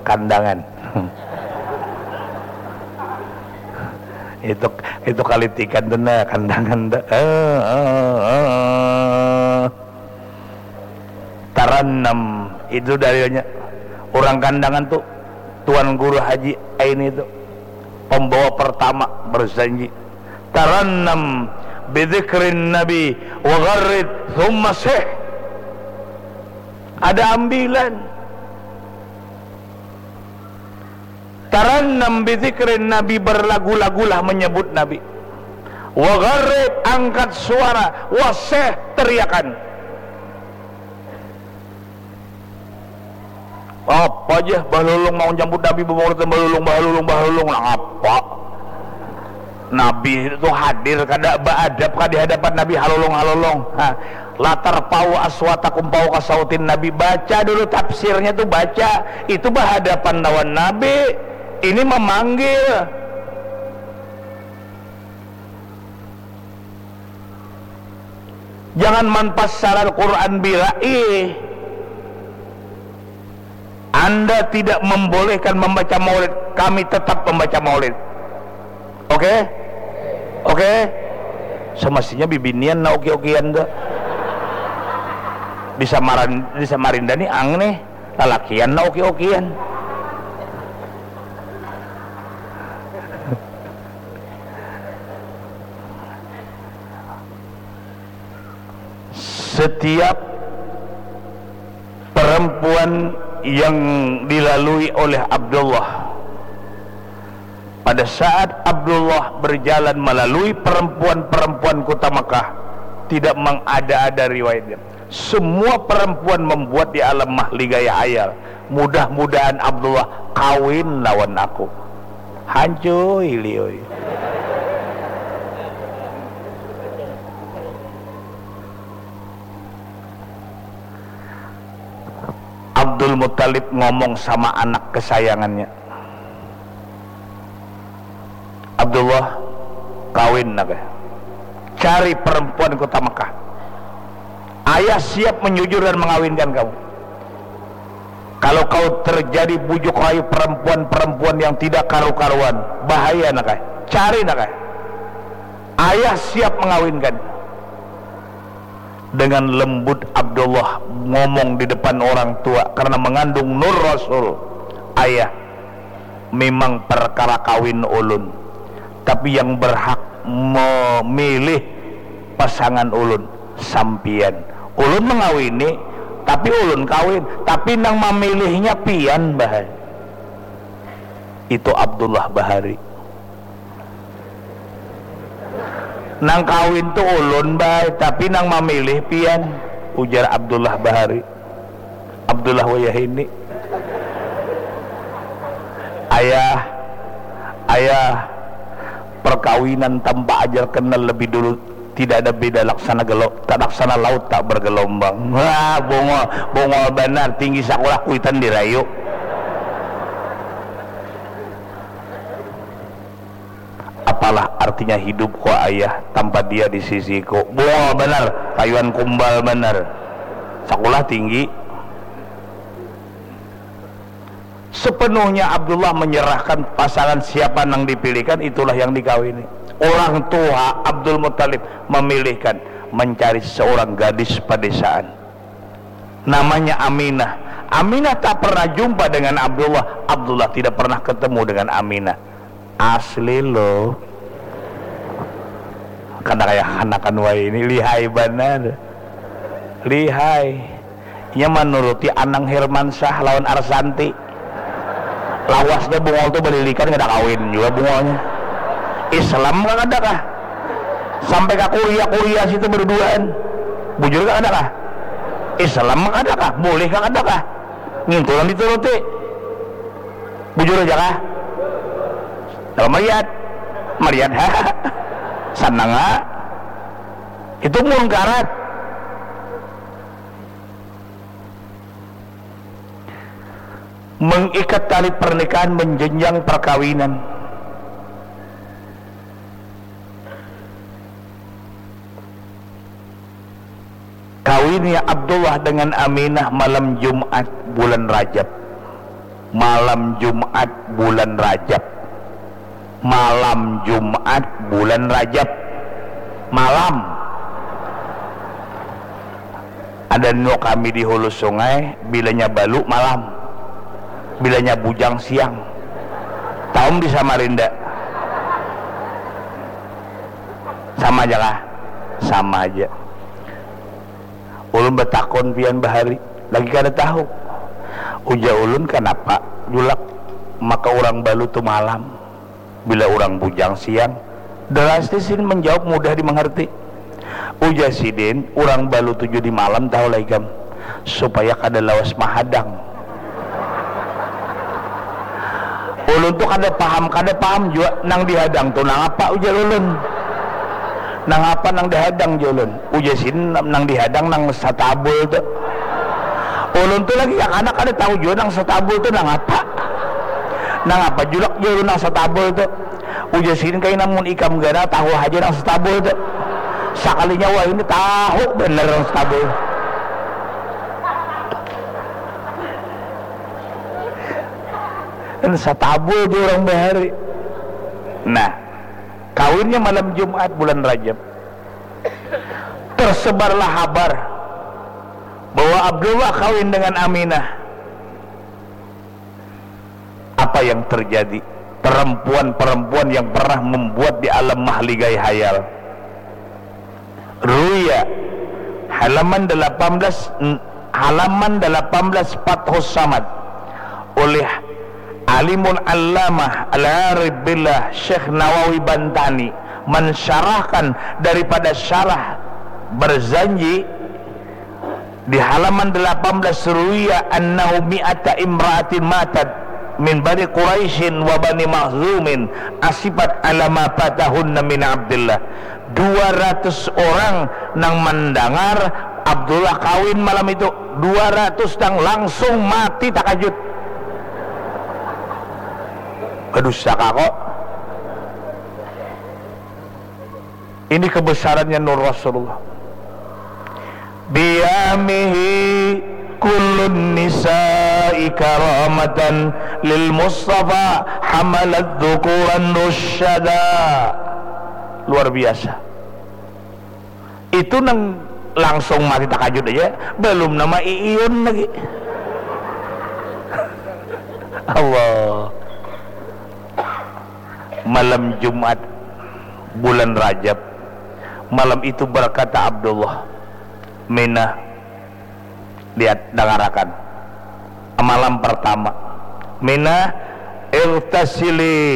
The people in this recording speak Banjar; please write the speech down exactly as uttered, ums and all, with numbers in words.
Kandangan. Itu itu kalitikan tu nah, kandangan tu. Eh, eh, eh, eh. Tarannam itu dalilnya. Orang Kandangan tu, Tuan Guru Haji Aini tu, pembawa pertama berjanji, tarannam bidzikrin nabi wa gharrid thumma sih. Ada ambilan. Tarannam bidzikrin nabi, berlagu-lagulah menyebut nabi. Wa gharrid, angkat suara. Wa sih, teriakan. Apa aja bahalulung mau nyambut nabi, bamaulidan bahalulung, bahalulung, bahalulung, nang apa? Nabi itu hadir, kada baadab kah di hadapan nabi, halulung, halulung. Ha. Latar pau aswatakum pau kasautin nabi, baca dulu tafsirnya tu, baca. Itu bahadapan lawan nabi. Ini memanggil. Jangan manpassar Al-Quran bira'i. Anda tidak membolehkan membaca maulid, kami tetap membaca maulid. Oke? Oke? Semestinya bibinian na oke-okean tu. Di Samaran-, di Samarinda ni ang nih, lalakian na oke-okean. Setiap perempuan yang dilalui oleh Abdullah, pada saat Abdullah berjalan melalui perempuan-perempuan kota Mekah, tidak mengada-ada riwayatnya. Semua perempuan membuat di alam mahli gaya ayal. Mudah-mudahan Abdullah kawin lawan aku. Hancuy, liuy. Abdul Muttalib ngomong sama anak kesayangannya, "Abdullah, kawin nak, eh. Cari perempuan kota Mekah. Ayah siap menyujur dan mengawinkan kamu. Kalau kau terjadi bujuk rayu perempuan-perempuan yang tidak karu-karuan, bahaya nak, eh. Cari nak, eh. Ayah siap mengawinkan." Dengan lembut Abdullah ngomong di depan orang tua karena mengandung nur Rasul, "Ayah, memang perkara kawin ulun, tapi yang berhak memilih pasangan ulun sampian. Ulun mengawini, tapi ulun kawin, tapi nang memilihnya pian, bah." Itu Abdullah Bahari. "Nang kawin tu ulun, Bay, tapi nang mamilih pian," ujar Abdullah Bahari. Abdullah Wayahini. "Ayah, ayah, perkawinan tanpa ajal kenal lebih dulu tidak ada beda laksana gelo-, tak laksana laut tak bergelombang." Wah, bungul, bungul banar, tinggi sakulah kuitan dirayu. "Apalah artinya hidup ko ayah tanpa dia di sisiku?" Bungul banar, kayuan kumbal banar. Sakulah tinggi. Sepenuhnya Abdullah menyerahkan pasangan siapa nang dipilihkan, itulah yang dikawini. Orang tua Abdul Muttalib memilihkan mencari seorang gadis pedesaan. Namanya Aminah. Aminah tak pernah jumpa dengan Abdullah. Abdullah tidak pernah ketemu dengan Aminah. Asli lo. Kada kaya kanakan wayahini, lihai banar. Lihai. Inya manuruti Anang Hermansyah lawan Arsanti. Lawasnya bungul tu balilikan, kada kawin jua bungulnya. Islam kah kada kah? Sampai ka Korea-Korea situ baduduaan. Bujur kah kada kah? Islam kah kada kah? Boleh kah kada kah? Ngintu nang dituruti. Bujur aja kah? Kalau mariat, mariat ha. Sanang ha. Itu munkarat. Mengikat tali pernikahan, menjenjang perkawinan. Kawinnya Abdullah dengan Aminah malam Jumat bulan Rajab. Malam Jumat bulan Rajab. Malam Jumat bulan Rajab. Malam. Ada nu kami di hulu sungai, bilanya balu malam. Bilanya bujang siang. Taum di Samarinda. Sama aja kah? Sama aja. Ulun batakun pian bahari, lagi kada tahu. Ujar ulun, kanapa julak maka urang balu tu malam, bila urang bujang siang? Drastis ini menjawab, mudah dimengerti. Ujar sidin, urang balu tu jua di malam tahu lah ikam, supaya kada lawas mahadang. Ulun tu kada paham, kada paham jua nang dihadang tu nang apa, ujar ulun. Nang apa nang dihadang, jar ulun. Ujar sidin, nang dihadang nang satabul tu. Ulun tu lagi kakanak kada tahu jua nang satabul tu nang apa. Nang apa julak, jar ulun, nang satabul tu. Ujar sidin, kaina mun ikam ganal tahu haja nang satabul tu. Sakalinya wahini tahu banar nang satabul. Nang satabul tu urang bahari. Nah, kawinnya malam Jumat bulan Rajab. Tersebarlah habar bahwa Abdullah kawin dengan Aminah. Apa yang terjadi? Perempuan-perempuan yang pernah membuat di alam mahligai hayal. Ruya, halaman delapan belas, halaman delapan belas, Fathus Samad, oleh Alimul Allamah Al-Arif Billah Syekh Nawawi Bantani mensyarahkan daripada syarah Barzanji di halaman delapan belas, ruwiya annahu mi'ata imra'atin matat min bani Quraisyin wa bani Makhzumin asifat ala ma fatahunna min Abdillah. Dua ratus orang nang mendengar Abdullah kawin malam itu, dua ratus nang langsung mati takajut. Badusa kah kok? Ini kebesarannya nur Rasulullah. Biyamihi kullun nisa'i karamatan lil Mustafa hamalat dzukuran rusyada. Luar biasa. Itu nang langsung mati takajut aja, belum nama iiun lagi. Allah. Malam Jumat bulan Rajab, malam itu berkata Abdullah, Mina, lihat, dangarakan. Malam pertama, Mina, irtasili